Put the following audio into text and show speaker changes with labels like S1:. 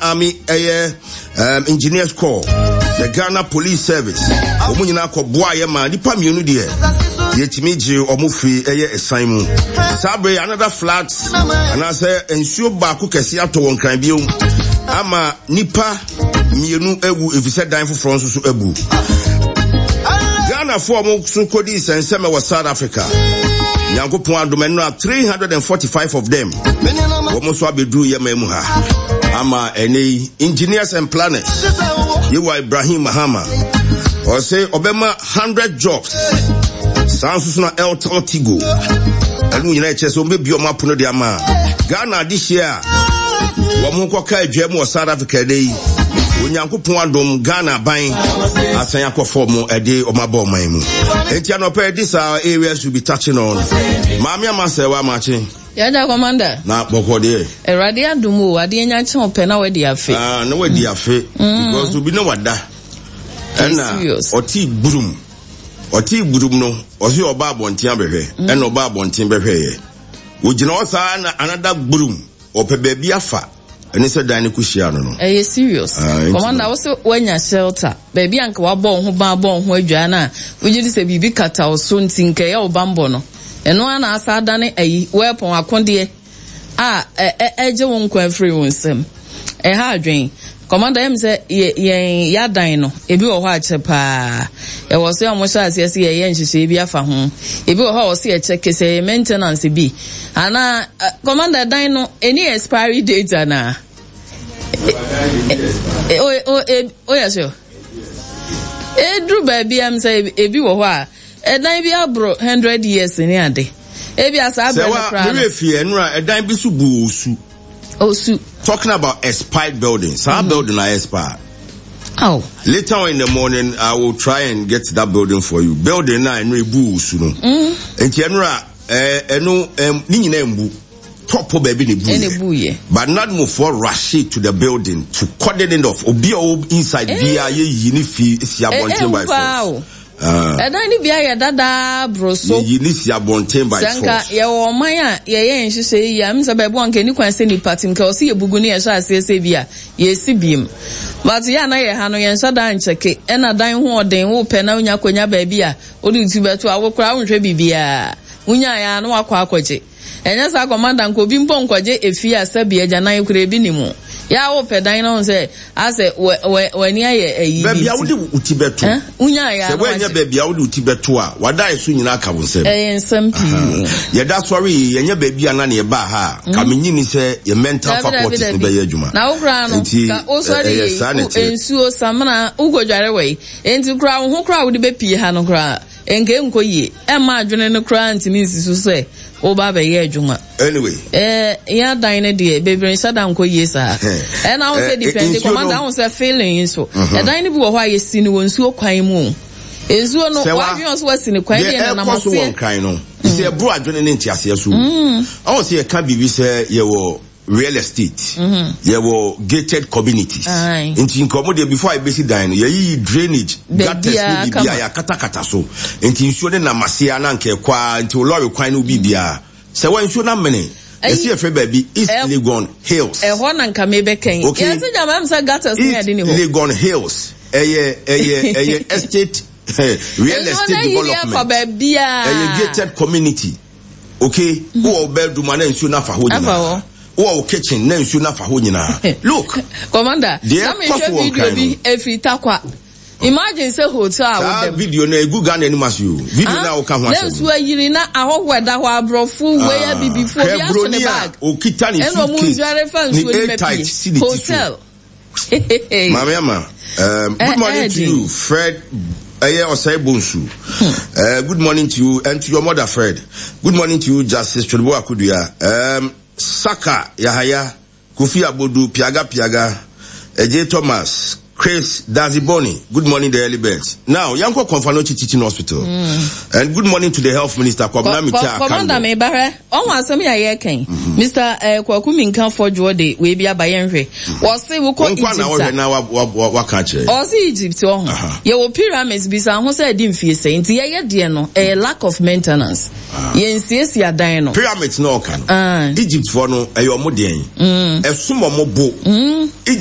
S1: Army ɛyɛ um, Engineers Corps, the Ghana Police Service. Wɔn nyinaa kɔboa yɛ ma nipa mmienu deɛ yɛtumi gye wɔn firi ɛyɛ ɛsan mu. Saa bere another flood anaasɛ nsuo baako kɛse atɔ wɔn kran bio ama nipa mmienu awu efisɛ dan foforɔ nso so abu. Ghanafoɔ a wɔn so kɔdi nsɛnsɛmɛ wɔ South Africa. Nyankopɔn adom ɛnora 345 of them wɔn nso abɛduru yɛ man mu ha ama ɛnɛ yi engineers and planners yewa Ibrahim Mahama ɔsɛ ɔbɛma 100 jobs saa nso so na Elton Tigo ɛno nyinaa ɛkyɛ sɛ wɔbɛbie wɔn apono de ama Ghana adehyeɛ a wɔn kɔka adwa mu wɔ South Africa ɛnɛ yi Onyankopɔn adom Ghana aban asan akɔ fam ɛde wɔn abɔ ɔman mu enti anɔpɛ ɛde saa areas will be touching on maame ama sɛ wa makye
S2: Yɛda commander.
S1: Na bɔkɔ deɛ.
S2: Awurade adom o, adeɛ nya kye wo pɛ na wadi afe.
S1: Ah, na wadi afe. Because obi na wada. Ɛna ɔte gburum. Ɔte gburum no, ɔse ɔba abɔnten abɛhwɛ. Ɛna ɔba abɔnten bɛhwɛeɛ. Ogyina hɔ saa na another gburum. Ɔpɛ baabi afa. Ɛne sɛ dan no kɔhyia no no.
S2: Ɛyɛ serious. Ah, Commander, wo se woanya shelter. Baabi a nka wabɔ wo ho ban abɔ wo ho adwaa no a, wogye di sɛ biribi kata wo so nti nka ɛyɛ wo bammɔ no. Ɛno ara na asa adane ayi, weapon, akodeɛ a ɛgye wo nkwa afiri wo nsam. Ɛha adwene. Commander, ɛyɛ me sɛ yɛn yɛadan no, ebi wɔ hɔ a kyɛ paa. Ɛwɔ sɛ wɔn hyɛ aseɛ sɛ yɛyɛ nhyehyɛe bi afa ho. Ebi wɔ hɔ a wɔsɛ yɛkyɛke sɛ ɛyɛ maintenance bi. Anaa, Commander, dan no, ɛni expiry date anaa? O yɛ sure? Ɛduru baabi a sɛ ebi wɔ hɔ a, ɛdan bi aboro 100 years ne ade. Ebi a saa berɛ no koraa no.
S1: Sɛ wa, merɛ fie ɛnora, ɛdan bi so bu osu.
S2: Osu.
S1: Talking about expired building. Saa building na expire.
S2: Oh.
S1: Later on in the morning, I will try and get that building for you. Building na ɛno ebu osu no. Nti ɛnora ɛno ne nyinaa mbu. Top baabi na ebu
S2: yɛ. Ebu yɛ.
S1: But NADMOfoɔ rush it to the building to cordon it off. Obi a ɔwɔ inside biara yɛ yi ne fi si abɔnten by force.
S2: Ɛdan no bi ayɛ dada boro so.
S1: Yɛyi ne si abɔnten by force.
S2: Sɛ nka yɛwɔ ɔman a yɛyɛ nhyehyɛe yie a, ɛm sɛ baabi wɔ nka ɛni kwan sɛ nipa te nka ɔsɛ yɛbugu ne yɛhyɛ aseɛ sɛ bi a yɛsi biem. But yɛ a na yɛ ha no yɛnhyɛ da nkyɛke ɛna dan ho ɔden wopɛ na wonya kɔnya baabi a wode wo ti bɛto a wo koraa wonhwɛ biribiara. Wonyaeɛ a na wakɔ akɔgye. Ɛnyɛ saa commander nka obi mpo nkɔgye efie a sɛbi agyanan koraa ebi ni mu. Yɛ a wopɛ dan na wohu sɛ asɛ wɛ wɛ w'ani ayɛ ayi bi
S1: Baabi a
S2: nti.
S1: wode wo ti bɛto.
S2: Eh, wonyaeɛ a
S1: Sɛ
S2: na
S1: woannya
S2: wagye.
S1: baabi a wode wo ti bɛto a, w'adaeso nyinaa ka wo nsam.
S2: Ɛyɛ nsɛm pii.
S1: Yɛda sɔre yi, yɛnyɛ baabi a na ne yɛbaa ha a, ka menyi ni sɛ yɛ mental
S2: Dabi dabi
S1: faculties no
S2: dabi.
S1: bɛyɛ adwuma.
S2: Na wo koraa no,
S1: Nti,
S2: ka wosɔre
S1: ɛyɛ
S2: yi,
S1: saa na
S2: wo
S1: ɛteɛ.
S2: nsuo, samina, wokɔdware wɔ yi. Enti koraa wo ho koraa a wode bɛpie ha no koraa, Nka ɛnkɔ yie. Ɛmma adwene no koraa ntumi nsi so sɛ woba abɛyɛ adwuma.
S1: Anyway.
S2: Eh, yɛn adan no deɛ, bebree nhyɛ da nkɔ yie saa. Ɛna ahun sɛ depend, commander ahun sɛ feeling nso. Ɛdan no bi wɔ hɔ a yɛsi no wɔ nsuo kwan mu o. Nsuo no, wadwene ɔso wasi no kwan, ɛdeɛ nenam aseɛ.
S1: Deɛ ɛkɔ so wɔ Nkran no, sɛ ɛboro adwene ne nteaseɛ so o. Ɔhu sɛ yɛka biribi sɛ yɛwɔ real estate yɛwɔ gated communities nti nka ɔmo deɛ before a yɛbɛsi dan no yɛyiyi drainage gutters ne biribi a yɛakatakata so nti nsuo ne nam ase a na nka ɛkɔ a nti lɔre kwan no biribiara sɛ wɔn nsuo no amene yɛsi yɛfrɛ baabi East Legon Hills
S2: ɛhɔ na nka mebɛkɛn
S1: okay
S2: yɛsi gyama ɛm sɛ gutters ne ade ne hɔ
S1: East Legon Hills ɛyɛ ɛyɛ ɛyɛ estate real estate development ɛyɛ gated community. Okay, wowɔ wo bedroom a na nsuo no afa hɔ nyinaa. Wowɔ wo kitchen na nsuo no afa hɔ nyinaa. Look.
S2: Commander,
S1: deɛ ɛkɔ so wɔ
S2: video bi efiri Tarkwa. Imagine sɛ hotel a wodam.
S1: Saa video no egu Ghana anim ase o. Video no a woka ho asɛm.
S2: Na nsuo ayiri na ahɔho ɛda hɔ aborɔfo wei abibifo obi ato ne bag.
S1: Okita ne suitcase ne air tight si ne ti so.
S2: Hotel.
S1: Maame Ama, good morning to you, Fred. Ɛyɛ Ɔsɛe Bonsu. Good morning to you and to your mother, Fred. Good morning to you, Justice Twodibo Akudua. Saka Yahaya, Kofi Abodu, Piaga Piaga, Eje Thomas, Chris Daziboni. Good morning, the early birds. Now, Yanko Komfanochi Teaching Hospital. And good morning to the health minister, Kwabena Mita Akando.
S2: Commander Mebahre, ɔho asɛm yɛ a yɛreka yi, Mister eh, Kwaku Minka Fɔdwoɔ de wei bi aba yɛnhwɛ. Wɔse wokɔ
S1: Egypt a. na wɔhwɛ na waka akyerɛ.
S2: Ɔse Egypt ɔho. Yɛwɔ pyramids bisa ho sɛ ɛdi mfie sɛn. Nti yɛyɛ deɛ no, ɛyɛ lack of maintenance. Yɛnsiesie adan no.
S1: Pyramids na ɔka no. Egypt foɔ no, ɛyɛ ɔmo deɛn? Ɛsom ɔmo bo. Egypt.